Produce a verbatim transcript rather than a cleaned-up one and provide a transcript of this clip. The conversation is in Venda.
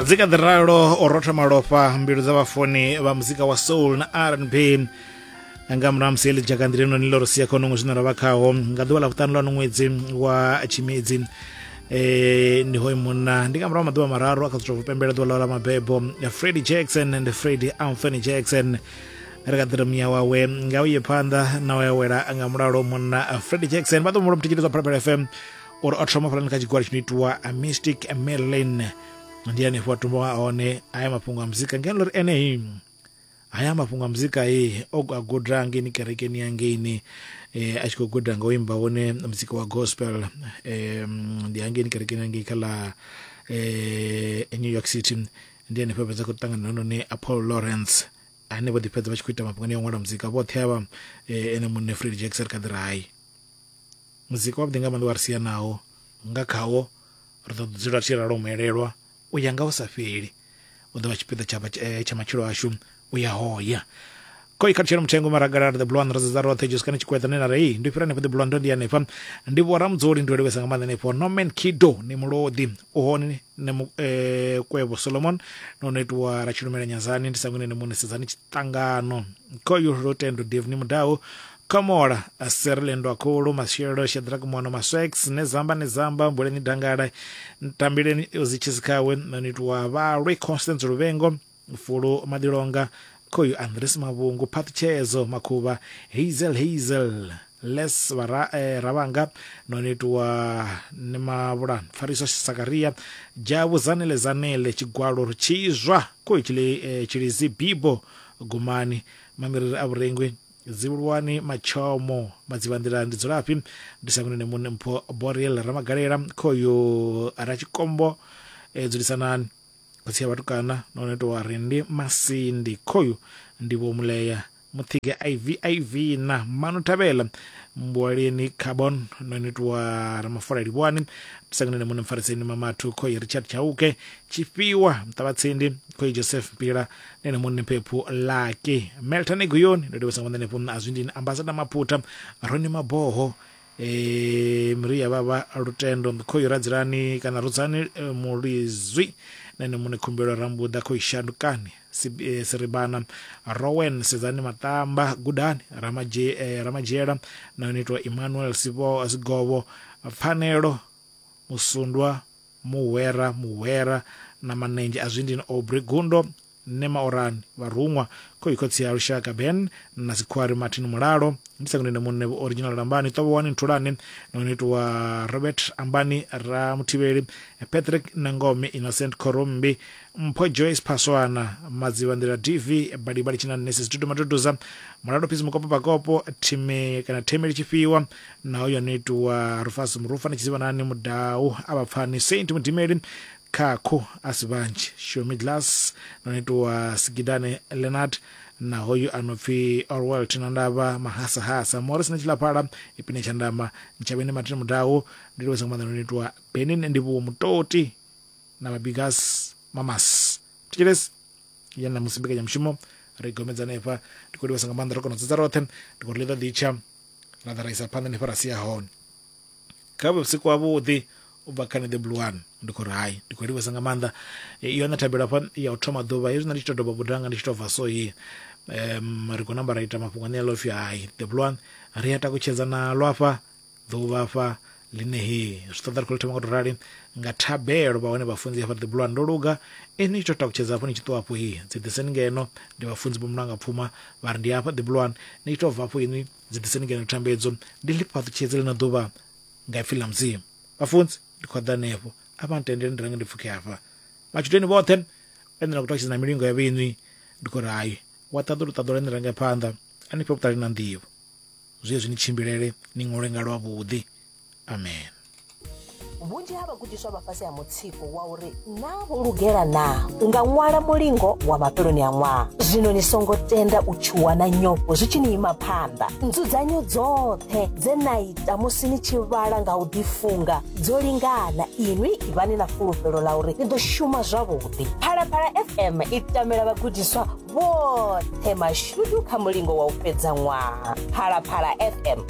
Dzi kha ḓi ralo o rotha malofha mbilu dza vhafuni vha muzika wa soul na R and B nga murahu musi heḽi dzhakanḓila noni ḽo ri sia kha ṅwedzi zwine ra vha khaho nga ḓuvha ḽa vhuṱanu ḽa ṅwedzi wa Tshimedzi. Eh ndi hoyu munna ndi nga murahu maḓuvha mararu a kha ḓi tou pembela ḓuvha ḽawe ḽa mabebo, Freddie Jackson and Freddie Anthony Jackson. Ri kha ḓi muya wawe nga uye phanḓa na u wela nga mulalo munna Freddie Jackson. Vha ḓo mulo muthetshelezi wa Phalaphala F M uri o thoma fhalani kha tshigwada tshi no itiwa Mystic Merlin, ndi hanefho a tumba hone haya mafhungo a muzika ngeno uri ene haya mafhungo a muzika e o a guda ngeini kerekeni ya ngeini eh, a tshi khou guda nga u imba wone muzika wa gospel eh, ndi hangeini kerekeni ya ngei kha ḽa eh, New York City. Ndi hanefho fhedza khou ṱangana noni Paul Lawrence ane vho ḓi fhedza vha tshi khou ita mafhungo ane a ṅwala muzika vhoṱhe avha eh, ene muṋe Freddie Jackson kha ḓi ri hai muzika wavhuḓi nga maanḓa wa ri sia nawo nga khawo ri ḓo dzula tshi ralo muelelwa u ya nga hu sa fheli, u ḓo vha tshipiḓa tsha tsha matshilo ashu u ya hoya. Koi kha tshelo mutengo maragala the blue one roza roṱhe Jessica ni tshikweta ne na rei ndi fhira hanefho the blue one ndi hanefha ndi vho Ramudzuli ndi livhesa nga maanḓa hanefho Norman Kido ni mulodi u hone ne eh, Kwevho Solomon no no itiwa Ratshilumela Nyazani ndi sangwene ne mune sedzani tshiṱangano koyu Rutendo Dave ni mudau Kamola Serlendo Akulu Mashelo Shadrack Mwana Maswex Nezamba Nezamba Mbuleni Dangala Ntambileni Uzichizikawe no Vhalwe Constance Luvengo Fulu Madilonga Koyu Andres Mabungu Patchezo Makuba Hazel Hazel Les Vara, eh, Ravanga nonitwa Nemavula Fariso Sakaria Jabu Zanele Zanele Chigwalo Chizwa Koyu Chile eh, Chilizi Bibo Gumani Mamirira Aburengwe Zivulwani Machomo Madzivandila ndi dzulaphi ndi sangune mune mpho Boreal Ramagalera Koyu Rachikombo eh, dzulisanani khotsi ya vhatukana nonetwa Rindi Masindi Koyu ndi vho Muleya Muthige I V I V na Manu Thabela Mbwaleni Carbon nonetwa Ramafora Livhwani sangune mune mfariseni Mamathu Koyu Richard Chauke Tshifhiwa Mtavhatsindi Koyu Joseph Mpila nene mune Mpephu Laki Melton Guyoni ndo livhesa nga maanḓa Azwindini Ambassador Maputa Roni Maboho eh Maria Baba Lutendo Koyu Radzilani kana Rudzani eh, Mulizwi nene mune Khumbelo Rambuda Koyu Shandukani Siribana Rowen Sezani Matamba Gudani Ramaje eh, Ramajela na nitwa Emmanuel Sibo Sigovo Pfanelo Musundwa Muwera Muwera na Manenje Azwindini Aubrey Gundo Nema Orani Varungwa Koyu Khotsi ya Lushaka Ben na Sikhwari Martin Mulalo ndi sangune mune original Rambani Tobowani Ntulani na nitwa Robert Ambani Ramuthivheli Patrick Nangome Innocent Korombi Mpho Joyce Paswana Madzivandila T V Balibali Tshina Nesi Studio Matutuza Mulalo Phisi Mukopo Pakopo Time kana Themeli Tshifhiwa na hoyo nitwa Rufus Murufa na Tshizivanani Mudau Abapfani Saint Mudimeli Kakho Asibanji Shomi Glass nonitwa Sigidane Leonard na hoyu anopfi Orwell Tinandava Mahasahasa Morris na Tshilaphala Ipine Tshandama Ntshavheni Martin Mudau ndi livhesa nga maanḓa nonitwa Benin ndi vho Mutoti na Mabigas Mamas Tshilesi yana musi mbekanyamushumo ri gomedza hanefha ndi khou livhesa nga maanḓa ro kona u dzudza roṱhe ndi khou ri ḽi ḓo ḓitsha ra ḓa ra isa phanḓa hanefha ra sia hone kha vhe vhusiku havhuḓi u bva kha The Blue One ndi khou ri hai ndi khou livhesa nga maanḓa yone thabelo hafha ya u thoma ḓuvha hezwi nṋe ndi tshi to doba budanga ndi tshi to bva so hi um ri khou namba ra ita mafhungo ane a pfi hai The Blue One ri a takutshedza nalo afha ḓuvha afha ḽine he zwi ṱoḓa ri khou thoma nga to rali nga thabelo vha hone vhafunzi hafha The Blue One ndo luga ini tshi to takutshedza hafho ni tshi ṱuwa hafho hi dzi ḓiseni ngeno ndi vhafunzi vho Mulanga Pfuma vha ri ndi hafha The Blue One ni tshi to bva hafho inwi dzi ḓiseni ngeno thambedzo ndi ḽi fhaṱutshedze ḽino ḓuvha nga ipfi ḽa Mudzimu. Vhafunzi ndi khou ḓa hanefho a vha ntendele ndi range ndi pfukhe hafha matshudeni vhoṱhe ene na khou takutshedza na milingo ya vhenwi ndi khou ri hai wa ṱaḓulu ṱaḓula ni range phanḓa a ni fhe vhuṱali na nḓivho zwi zwi ni tshimbilele ni ṅwale nga lwavhuḓi. Amen. Vhunzhi ha vhagudiswa vha fhasi ha mutsiko wa uri naa vho lugela naa u nga ṅwala mulingo wa mafheloni a ṅwaha. Zwino ni songo tenda u tshuwa na nyofho zwi tshi ni ima phanḓa. Nzudzanyo dzoṱhe dze na ita musi ni tshi vhala nga u ḓifunga dzo lingana. Inwi ivhani na fulufhelo ḽa uri ni ḓo shuma zwavhuḓi. Phalaphala F M i tamela vhagudiswa vhoṱhe mashudu kha mulingo wa u fhedza ṅwaha. Phalaphala F M.